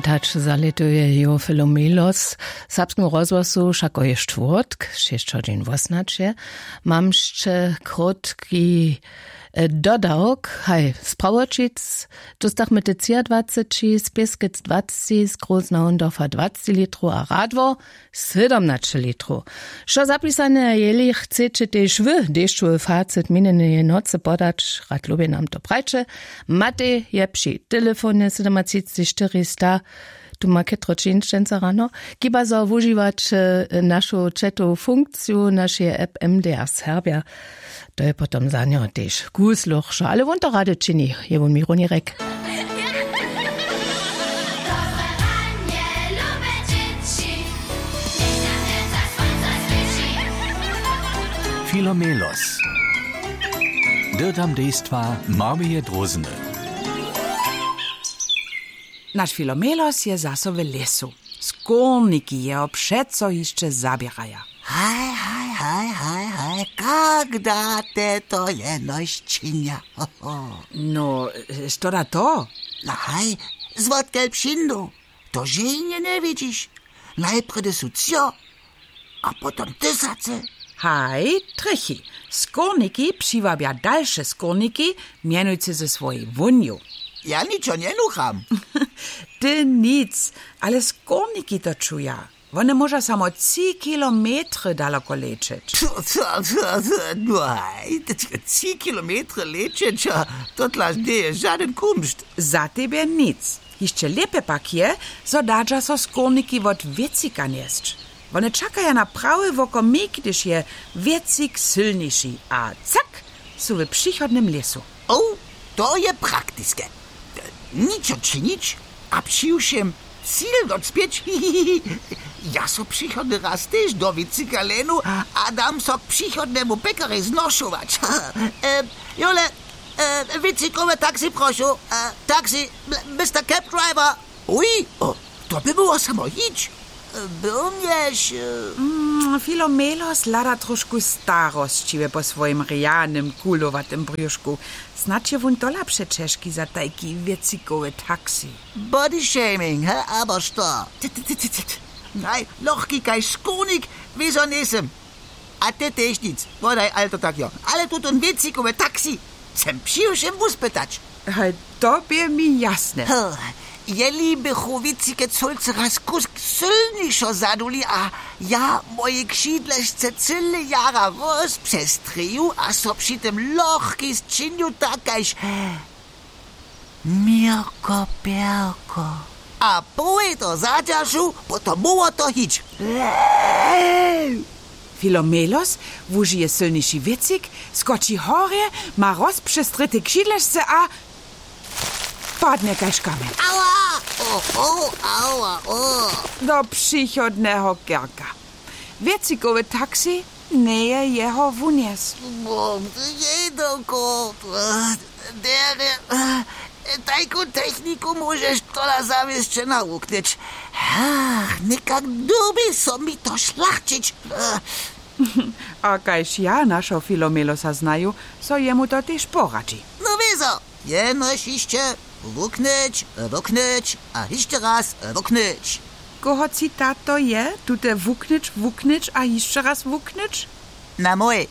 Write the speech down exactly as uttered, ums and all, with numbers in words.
Tak zalětuje jo Filomelos serbskemu rozhłosu wšako je štwórtk šěsć hodźin wosnaće. Mam sće krótki dodawk haj z prawoćic. Dóstachmy te třiadwaceći z pěskec dwacci z groznahundorfa dwacci litrow a radwo sydomnaće litrow. Što zapisane jeli chceće tež wy dešćowy facit minjeneje nocy podać, rad lubje nam to prajće. Matej je při telefonje sydomatřiceći štyri sta. Tu ma chětro činšćenca rano. Chiba zo wužiwać našu četowu funkciju našeje app mdr serbja. To je potom za njeho tež kusluchšo ale wón to rady čini. Je wón mi runirek. Filomelos. Dyrtam dejstwa marmeje drózny. Naš Filomelos je zaso w lěsu. Skórniki jeho přeco hišće zaběraja. Haj haj haj haj haj, kak da te to jenož činja? No, što da to? No haj, zwotkel přińdu? To ženje njewidźiš. Najprjedy su třo, a potom tysacy. Haj, trychi. Skórniki přiwabja dalše skórniki, mjenujcy ze swojej wónju. Ja ničo njenucham. Ty nic, ale skórniki to čuja. Wone móža samo tři kilometry daloko lećeć. Haj, tři kilometry lećeć a to tlaž njeje žadyn kumšt. Za tebje nic. Hišće lěpje pak je, zo dadźa so skórniki wot wěcika njesć. Wone čakaja na prawy wokomik, hdyž je wěcik sylniši a cak, su w přichodnym lěsu. O, to je praktiske. Ničo činić a přiwšěm cil docpěć. Ja so přichodny raz tež do wěcika lenu a dam so k přichodnemu pekarej znošować. Jole, wěcikowe taxi prošu. Taxi, mister cab driver. Uj, to by było samo hić. Byrnješ? Filomelos hlada trošku starosćiwje po swojim rjanym kulowatym brjušku. Snadź je wón tola přećežki za tajki wěcikowy taxi. Body shaming he abo što? Naj lochki kaž skórnik wězo njejsym. A te tež nic. Wodaj alto tak jo, ale tutón wěcikowy taxi chcem přiwšěm wuspytać. Haj, to bě mi jasne. Jeli bychu wěcike cólcy raz kusk sylnišo zaduli a ja moje křidlešce cyle jara rozpřestrěju a so při tym lochki sčinju tak kaž měrko pjerko. A połej to zadźeršu, potom móhło to hić. Filomelos wužije sylniši wěcik, skoči horje, ma rozpřestrěte křidlešce a padnje kaž kamjeń. Aua. Do přichodneho kerka. Wěcikowy taxi njeje jeho wunjesł. Jej dokor. Derje, tajku techniku móžeš tola zawěsće nawuknyć. Ach, někak dyrbi so mi to šlachćić. A kaž ja našeho Filomelosa znaju, so jemu to tež poradźi. No wězo, jenož hišće wuknyć, wuknyć a hišće raz wuknyć. Koho citato je tute wuknyć wuknyć a hišće raz wuknyć? Na mój.